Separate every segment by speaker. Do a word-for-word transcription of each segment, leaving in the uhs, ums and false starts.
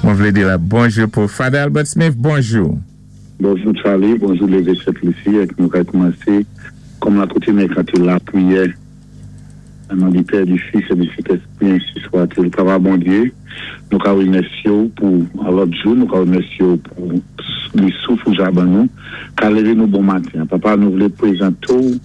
Speaker 1: Mwen vlé di la bonjou pou Father Albert Smith, bonjou.
Speaker 2: Bonjou Charlie, bonjou Lévé Sent-Lisi, èk nou ka koumansé kòm la koutim èk anté lapriyè. An non di Pè, di Fis é di Sentèspwi, ensi swa-t-il. Papa Bondyé, nou ka wimèsyé-w pou an lòt jou, nou ka wimèsyé-w pou li souf ou ja ban nou, ka lévé nou bon maten. Papa, nou vlé pwézanté-w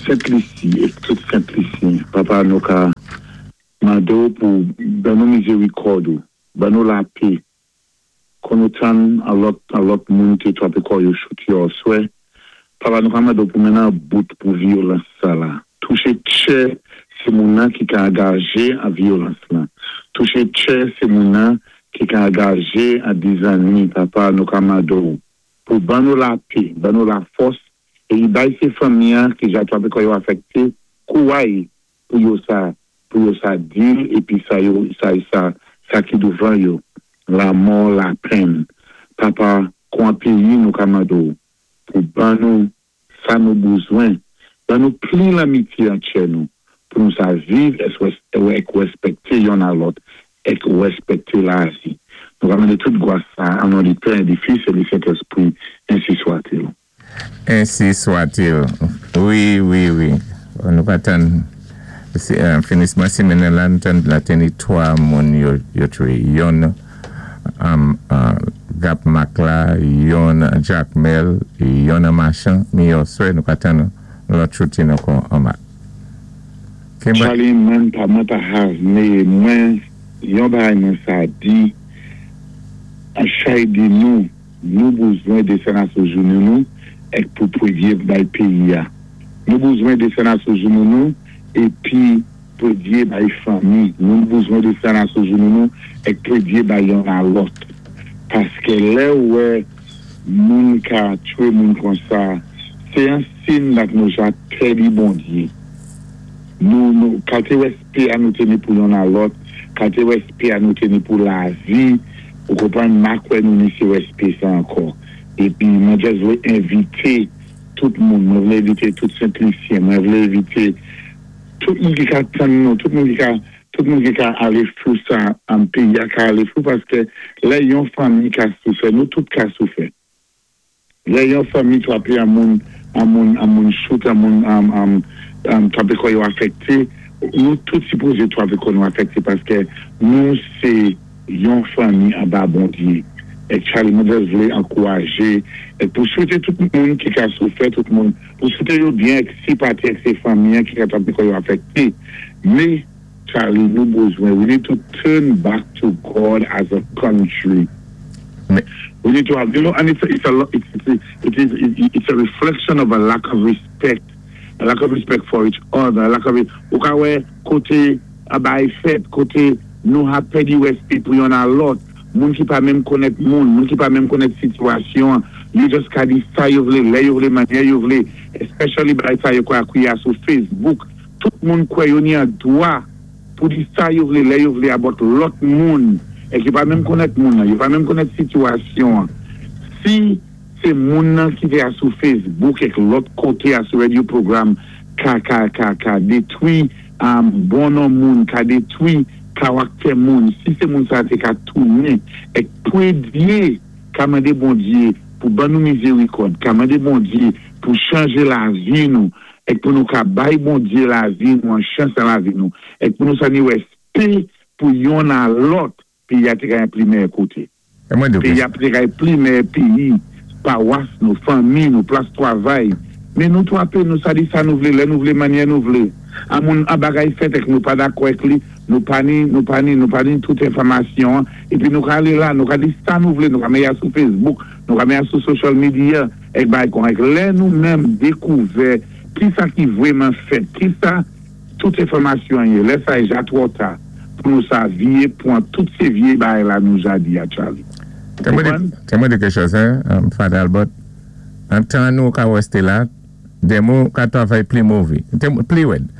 Speaker 2: Sent-Lisi é tout Sent-Lisyen. Papa, nou ka mandé-w pou ban nou mizérikòd ou, ban nou lapé, kon nou tann an lòt, an lòt moun té twapé kò yo choute yo oswè. Papa, nou ka mandé-w pou mennen an bout pou vyolans sa la. Touché tchè sé moun nan ki ka angajé an vyolans lan. Touché tchè sé moun nan ki ka angajé an dizanni. Papa, nou ka mandé-w pou ban nou lapé, ban nou lafòs, é bay sé fanmi an ki ja twapé kò yo afèkté, kouway pou yo sa, pou yo sa dil, épi sa yo, sa, sa, sa ki douvan yo, lamò, lapenn. Papa, kon péyi nou ka mande-w pou ban nou sa nou bezwen, ban nou pli lanmityé antchè nou, pou nou sa viv èk wèspèkté yonn a lòt, èk wèspèkté lavi. Nou ka mandé tout gwas sa, an non di Pè, di Fis é di Sentèspwi, ensi swa-t-il.
Speaker 1: Ensi swa-t-il. Wi, wi, wi. Nou ka tann finisman simenn la, nou tann la té ni twa moun yo, yo touwé. Yonn um, uh, Gap Mak la, yonn Jakmèl, yonn Machan, mi oswè, nou ka tann lòt shooting ankò an Mak.
Speaker 2: Charlie, mwen pa, mwen pa have mé mwen, yon bagay mwen sa di, an chay di nou, nou bezwen désann asou jounou nou, èk pou pwédyé bay péyi a. Nou bezwen désann asou jounou nou, épi pwédyé bay fanmi. Nou bezwen désann asou jounou nou, èk pwédyé bay yonn a lòt. Paské lè ou wè moun ka touwé moun kon sa, sé an sin dak nou ja pèdi Bondyé. Nou, nou, kalté wèspè a nou té ni pou yonn a lòt, kalté wèspè a nou té ni pou lavi, ou konpwann ma kwè nou ni sé wèspè sa ankò. Épi mwen jis vlé envité tout moun, mwen vlé envité tout Sent-Lisyen, mwen vlé envité tout moun ki ka tann nou, tout moun ki ka, tout moun ki ka alé fou sa an péyi a ka alé fou paské lè yon fanmi ka soufè, nou tout ka soufè. Lè yon fanmi twapé an moun, an moun, an moun choute, an moun, an, an, an twapé kò yo afèkté, nou tout sipozé twapé kò nou afèkté paské nou sé yon fanmi anba Bondyé. Èk Charlie, mwen jis vlé ankourajé, èk pou souwété tout moun ki ka soufè, tout moun, pou souwété yo byen èk sinpati èk sé fanmi an ki ka twapé kò yo afèkté. Mé, Charlie, nou bezwen, we need to turn back to God as a country. We need to have, you know, and it's a, it's a, it's, it's, it is, it's a reflection of a lack of respect, a lack of respect for each other, a lack of, ou ka wè koté a bay fèt, koté nou ha pèdi wèspè pou yonn a lòt, moun ki pa menm konnèt moun, moun ki pa menm konnèt sitiyasyon, yo just ka di sa yo vlé, lè yo vlé, mannyè yo vlé, especially bay sa yo kwa akwiya sou Facebook, tout moun kwè yo ni an dwa pou di sa yo vlé, lè yo vlé about lòt moun, èk yo pa menm konnèt moun nan, yo pa menm konnèt sitiyasyon. Si sé moun nan ki té a sou Facebook èk lòt koté a sou radio program ka, ka, ka, ka détwi um, bon non moun, ka détwi karaktè moun, si sé moun sa té ka tounen èk pwédyé ka mandé Bondyé pou ban nou mizérikòd, ka mandé Bondyé pou chanjé lavi nou, èk pou nou ka bay Bondyé lavi nou, an chans an lavi nou, èk pou nou sa ni wèspè pou yonn a lòt, péyi a té ka yon pli mèyè koté. Péyi a té ka yon pli mèyè péyi, pawas nou, fanmi nou, plas twavay. Mé nou twapé, nou sa di sa nou vlé, lè nou vlé, mannyè nou vlé. An moun, an bagay fèt èk nou pa dakò èk li, nou pa ni, nou pa ni, nou pa ni tout enfòmasyon, épi nou ka alé la, nou ka di sa nou vlé, nou ka mé ya sou Facebook, nou ka mé ya sou social media, èk bay kon èk lè nou menm dékouvè ki sa ki vwèman fèt, ki sa tout enfòmasyon yé, lè sa é ja twò ta, pou nou sa vyé pwan tout sé vyé bagay la nou ja di a Charlie.
Speaker 1: Té mwen di kèk chòz, hein, Father Albert, an tan nou ka wèsté la, dé mou ka twavay pli mové, pli wèd.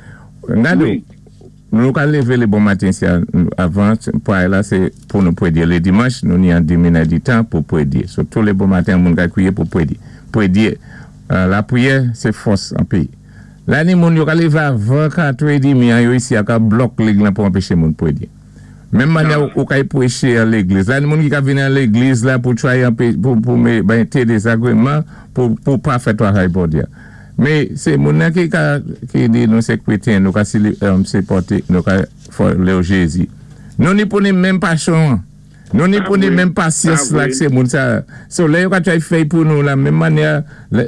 Speaker 1: Ngadou, nou ka lévé lé bon maten si avan, pou ay la sé pou nou pwédyé. Lé dimanch, nou ni an di minit di tan pou pwédyé. So, tou lé bon maten, moun ka kwiyé pou pwédyé. Pwédyé, la pwiyè, sé fòs an péyi. La ni moun yo ka lévé avan katrè édmi an yo isi a ka blòk lig lan pou anpéché moun pwédyé. Menm mannyè ou kay pwéché an légliz. La, moun ki ka vini an légliz la pou try pou, pou mé, ben, té dézagwéman pou, pou pa fè twavay Bondyé. Mé sé moun nan ki ka, ki di nou sé krétyen, nou ka si, um, sipòté, nou ka follow Jézi. Nou ni pou ni menm pasyon. Nou ni pou ni menm pasyans la ki sé moun sa. So lè yo ka try fè pou nou la, menm mannyè,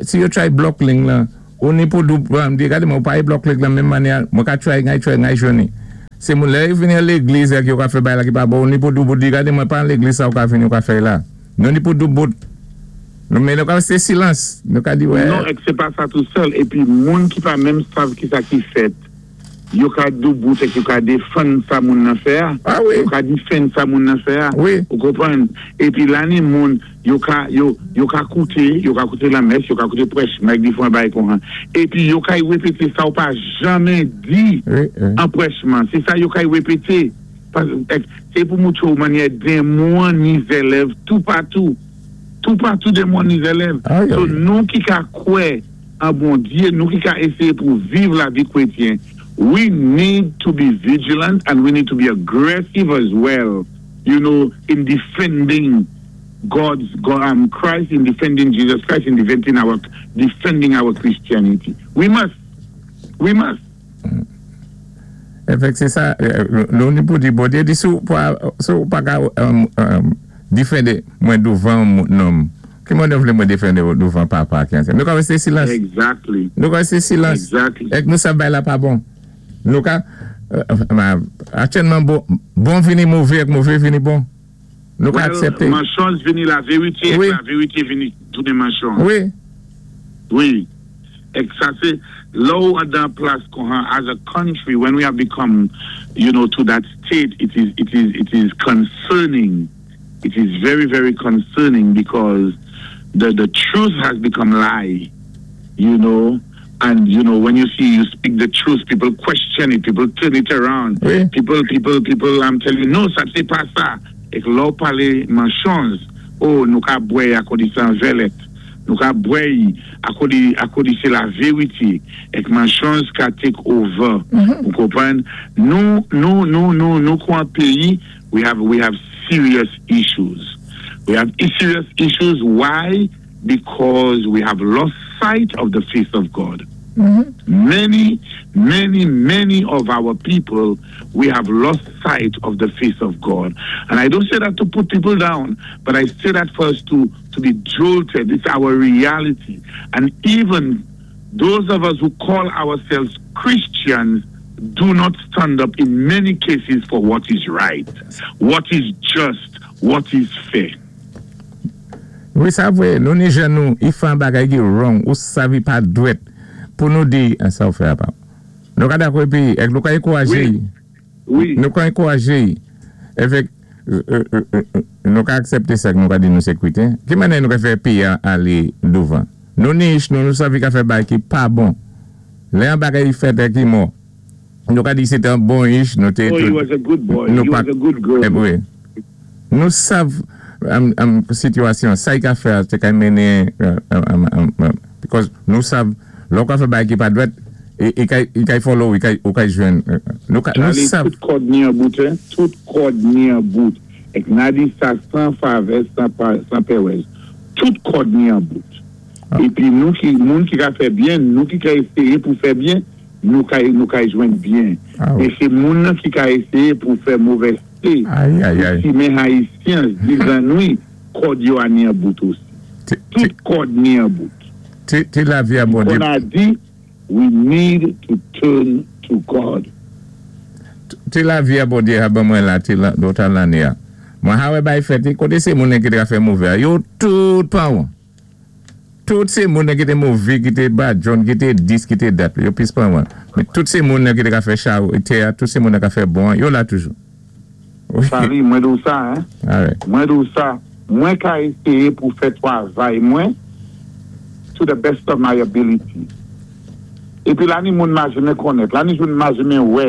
Speaker 1: si yo try block link la, ou ni pou dou, di gade mwen pa block link la menm mannyè, mwen ka try ngay try ngay jwenni. Sé moun lè yo vini a légliz ki yo ka fè bay la ki pa bon, ou ni pou dou bout di gade mwen pa an légliz sa ou ka vini ou ka fè la. Nou ni pou dou bout. Nou men nou ka sé silans. Nou ka di wè.
Speaker 2: Non, ek sé pa sa tou sèl. Épi moun ki pa menm sav ki sa ki fèt, yo ka dou bout ek yo ka défann sa moun nan fè a.
Speaker 1: Ah wi.
Speaker 2: Yo ka défann sa moun nan fè a.
Speaker 1: Wi.
Speaker 2: Ou konpwann? Épi la ni moun, yo ka, yo, yo ka kouté, yo ka kouté la mès, yo ka kouté pwèch, mèk di fwa bay kon han. Épi yo ka y wépété sa ou pa janmen di
Speaker 1: Wi, wi.
Speaker 2: an pwèchman. Sé sa yo ka y wépété. Sé pou moutou ou mannyè démon ni zélèv tout patou. Tout patou démon ni zélèv.
Speaker 1: Aïe,
Speaker 2: So
Speaker 1: aïe.
Speaker 2: nou ki ka kwè an Bondyé, nou ki ka ésyé pou viv lavi krétyen, we need to be vigilant and we need to be aggressive as well, you know, in defending God's, God, um, Christ, in defending Jesus Christ, in defending our, defending our Christianity. We must. We must.
Speaker 1: Efek se sa, nou ni pou di Bondyé di sou pa, sou pa ka um, um, défendé mwen douvan nonm. Ki mwen vlé mwen défendé douvan papa ki anse. Nou ka wé silans.
Speaker 2: Exactly.
Speaker 1: Nou ka wé silans.
Speaker 2: Exactly.
Speaker 1: Ek nou sa bay la pa bon. Nou ka, euh, aktyèlman bon, bon vini mové ek mové vini bon. Nou ka
Speaker 2: Well,
Speaker 1: aksépté.
Speaker 2: Mansonj vini la vérité,
Speaker 1: Wi.
Speaker 2: ek la vérité vini tounen mansonj.
Speaker 1: Wi.
Speaker 2: Wi. Ek sa sé, lè ou dan plas kon as a country, when we have become, you know, to that state, it is, it is, it is concerning. It is very, very concerning because the, the truth has become lie, you know. And, you know, when you see you speak the truth, people question it, people turn it around.
Speaker 1: Wi.
Speaker 2: People, people, people, I'm telling you, no, sa sé pa sa. Ek lè ou palé mansonj, oh, nou ka bwè akò di sé an vè lèt. Nou ka bwè akò di, akò di sé la vérité. Ek mansonj ka take over. Ou konpwann? Nou, nou, nou, nou, nou kon péyi, we have, we have serious issues. We have serious issues. Why? Because we have lost sight of the face of God. Many, many, many of our people, we have lost sight of the face of God. And I don't say that to put people down, but I say that for us to, to be jolted. It's our reality. And even those of us who call ourselves Christians do not stand up in many cases for what is right, what is just, what is fair.
Speaker 1: Wi, sa vwé, nou ni jen nou, i fè an bagay ki wrong, ou savi pa dwèt, pou nou di, an sa ou fè apa. Nou ka dakò épi, ek nou ka énkourajé.
Speaker 2: Wi. Wi.
Speaker 1: Nou ka énkourajé. Efek, nou ka aksépté sa nou ka di nou sé krétyen. Ki mannyè nou ka fè péyi a alé douvan? Nou ni nou nou savi ka fè bagay ki pa bon. Lè an bagay fèt ki mò. Nou ka di sé an bon ich, nou té...
Speaker 2: Oh, he was a good boy. He was a good girl.
Speaker 1: Eh, wi. Nou sav am, am sitiyasyon, sa y ka fè, té ka mennen, because nou sav, lò ka fè bagay ki pa dwèt, i ka follow, i ka jwenn. Nou ka, nou
Speaker 2: Charlie,
Speaker 1: sav.
Speaker 2: tout kòd ni an bout, hein? Tout kòd ni an bout. Ek na di sa san favè, san, pa, san pèwèz. Tout kòd ni an bout.
Speaker 1: Ah.
Speaker 2: Épi nou ki, moun ki ka fè byen, nou ki ka ésyé pou fè byen, nou ka, nou ka jwenn byen.
Speaker 1: Ah, wi.
Speaker 2: É sé moun nan ki ka ésyé pou fè movèzté.
Speaker 1: Aïe, aïe, aïe.
Speaker 2: Simen Ayisyen, dizannwi, kòd yo a ni an bout osi.
Speaker 1: Té,
Speaker 2: Tout kòd ni an bout.
Speaker 1: té, té lavi a Bondyé.
Speaker 2: On a dit, we need to turn to God.
Speaker 1: Té lavi a Bondyé a ban mwen la, té la, dotan lanné a. Mwen ha wè bay fèt, koté sé moun ki té ka fè mové a, yo tout pa wan. Tout sé moun ki té mové, ki té bad John, ki té this, ki té that, yo pis pa wan. Mé tout sé moun ki té ka fè chaw, té a, tout sé moun ka fè bon, yo la toujou. Wi.
Speaker 2: Charlie, mwen di ou sa, hein?
Speaker 1: Alright.
Speaker 2: Mwen di ou sa, mwen ka ésyé pou fè twavay mwen to the best of my ability. Épi la ni moun ma janmen konnèt, la ni moun ma janmen wè.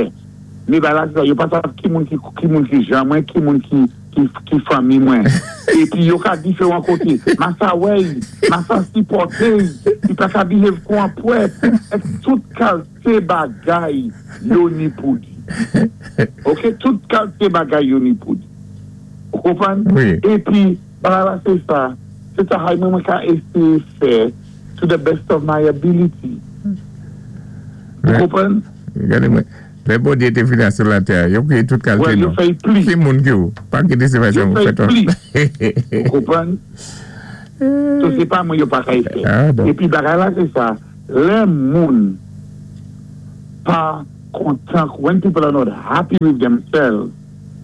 Speaker 2: Mé ba la sa, yo pa sav ki moun ki, ki moun ki jan mwen, ki moun ki, ki, ki fanmi mwen. Épi yo ka diferan koté. Ma sa wè, ma sa sipòté, i pa ka behave kon an pwèt. Ek tout kalité bagay yo ni pou di. Ok, tout kalité bagay yo ni pou di. Ou konpwann?
Speaker 1: Wi.
Speaker 2: Épi, bagay la sé sa, sé sa hay mwen mwen ka éséyé fè to the best of my ability. Ou konpwann?
Speaker 1: Gadé mwen, lè Bondyé té vini sou latè, yo kwéyé tout kalité
Speaker 2: Ouais, yo
Speaker 1: non.
Speaker 2: fè pli.
Speaker 1: Ki moun ki ou? Pa ki di sé
Speaker 2: Yo
Speaker 1: sa
Speaker 2: fè
Speaker 1: fè
Speaker 2: pli. Ou konpwann? So sé pa mwen yo pa kay fè.
Speaker 1: Ah, donk.
Speaker 2: Épi bagay la sé sa, lè moun pa kontan, when people are not happy with themselves,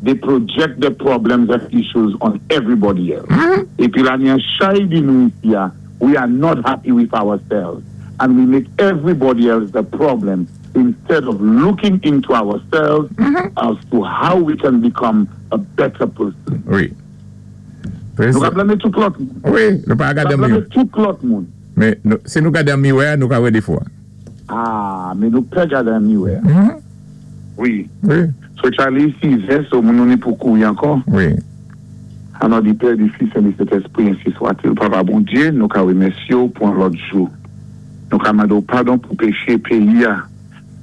Speaker 2: they project their problems and issues on everybody else. Épi la ni an chay di nou isi a, we are not happy with ourselves. And we make everybody else the problem instead of looking into ourselves as to how we can become a better person.
Speaker 1: Wi.
Speaker 2: Nou ka blamé tout lòt moun.
Speaker 1: Wi, nou pa
Speaker 2: Nou ka
Speaker 1: gadé
Speaker 2: blamé
Speaker 1: miwè.
Speaker 2: tout lòt moun.
Speaker 1: Men nou, si nou gadé miwè, nou ka wè défo.
Speaker 2: Ah, men nou pè gadé miwè. Wi.
Speaker 1: Wi.
Speaker 2: So Charlie, sizè, so moun nou ni pou kouwi ankò.
Speaker 1: Wi.
Speaker 2: An non di Pè, di Fis, di Sentespri, ensi swat-il. Papa Bondyé, nou ka wémèsyé ou pou an lòt jou. Nou ka mandé ou padon pou péché péyi a.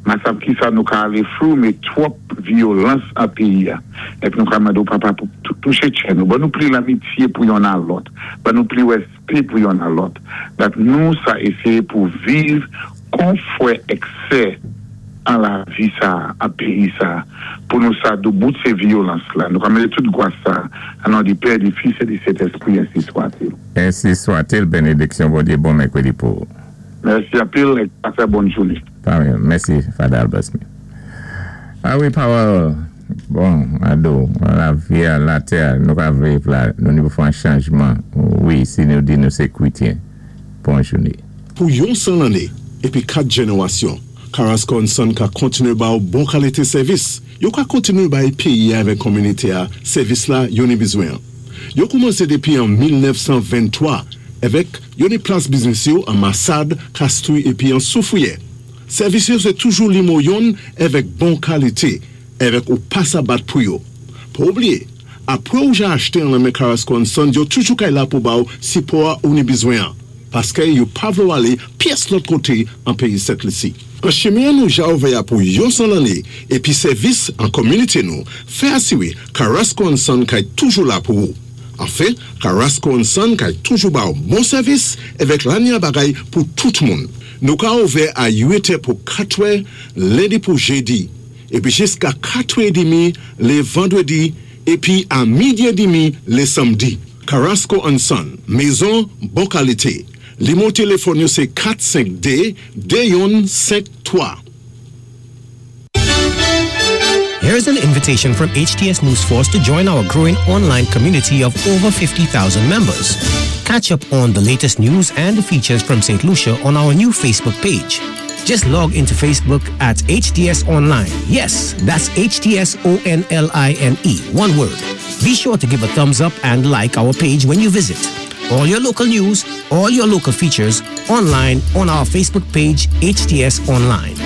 Speaker 2: Ma sav ki sa nou ka alé flou, men twòp vyolans an péyi a. Épi nou ka mandé ou papa pou touché tchè nou. Ban nou pli lamitié pou yonn a lòt. Ban nou pli wèspé pou yonn a lòt. Dat nou sa éséyé pou viv kon fwè èk sè an lavi sa, an péyi sa, pou nou sa doubout sé vyolans la. Nou ka mandé tout gwas sa, an non di Pè, di Fis, di Sentespri, ensi swat-il.
Speaker 1: Ensi swat-il, bénédiksyon Bondyé, bon mèkwédi pou.
Speaker 2: Mèsi anpil, é pasé bòn jouné.
Speaker 1: Parèy, mèsi, Father Albert Smith. Ah wi, pawòl, bon, ado, lavi a latè, nou ka viv la, nou ni pou fè an chanjman. Wi, si nou di nou sé kwétyen. Bon jouné.
Speaker 3: Pou yon san lanné, épi kat jénéwasyon, Carrasco and Son ka kontiné ba ou bon kalité sèvis. Yo ka kontiné bay péyi avèk kominité a, sèvis la yo ni bizwen. Yo koumansé dépi an mil nèf san venntwa, avèk yo ni plas biznis yo an Massade, Castries épi an Soufrière. Sèvis yo sé toujou limo yonn avèk bon kalité, avèk ou pa sa bat pou yo. Pa oubliyé, apwé ou ja achté an nan Carrasco and Son, yo toujou kay la pou ba ou sipò ou ni bizwen an. Paské yo pa vlé ou alé pyès lòt koté an péyi Sent Lisi. An chimen nou ja ouvè pou yon san lanné épi sèvis an kominité nou, fè asiwé Carrasco and Son kay toujou la pou ou. Anfen, Carrasco and Son kay toujou ba ou bon sèvis avèk lanya bagay pou tout moun. Nou ka ouvè a uit è pou katwè, lendi pou jédi, épi jiska katwè édmi lé vandwédi, épi a midi édmi lé samdi. Carrasco and Son, mézon bon kalité. Limo téléfòn yo sé kat senk dé de youn senk twa.
Speaker 4: Here's an invitation from H T S News Force to join our growing online community of over fifty thousand members. Catch up on the latest news and features from Saint Lucia on our new Facebook page. Just log into Facebook at H T S Online. Yes, that's H T S O N L I N E, one word. Be sure to give a thumbs up and like our page when you visit. All your local news, all your local features online on our Facebook page, H T S Online.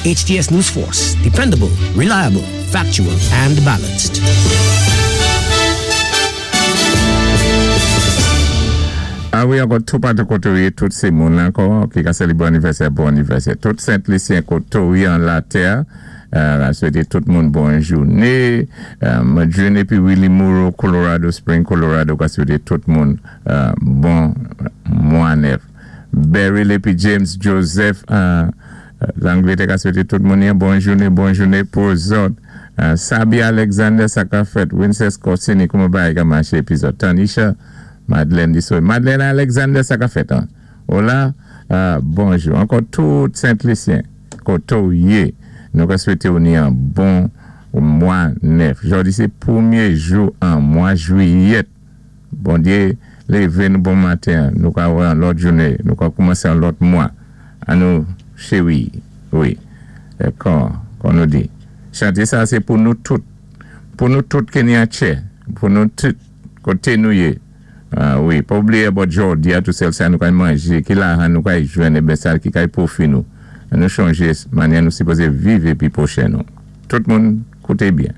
Speaker 4: H T S News Force, dependable, reliable, factual, and balanced.
Speaker 1: Ah wi, ankò tout patou koté ou yé, tout sé moun ankò ki ka sélébré anivèsè, bon anivèsè. Tout Sent-Lisyen koté ou yé an latè, euh, swété tout moun bon jouné. Euh, Madrine épi Willie Moreau, Colorado Spring, Colorado, ka swété tout moun euh, bon mwa nèf. Beryl épi James Joseph, euh, Langlétè ka swété tout moun yon bon jouné, bon jouné pou zòt. Euh, Sabi Alexander sa ka fèt, Winces Corsini, kouman bagay ka maché épi zòt. Tanisha, Madeleine di so. Madeleine Alexander sa ka fèt an. Hola, euh, bonjou. Ankò tout Sent-Lisyen, koté ou yé, nou ka swété ou ni an bon mwa nèf. Jòdi sé pwémyé jou an mwa jwiyèt. Bondyé lévé nou bon maten, nou ka wè an lòt jouné, nou ka koumansé an lòt mwa. An nou chéwi, wi. É kon, kon nou di. Chanté sa sé pou nou tout, pou nou tout ki ni an tchè, pou nou tout koté nou yé. Ah, wi, pa oubliyé about jòdi a tou sèl sa nou kay manjé, ki lajan nou kay jwenn, é ben sa ki kay pwofi nou. An nou chanjé manyè nou sipozé viv épi pwochen nou. Tout moun kouté byen.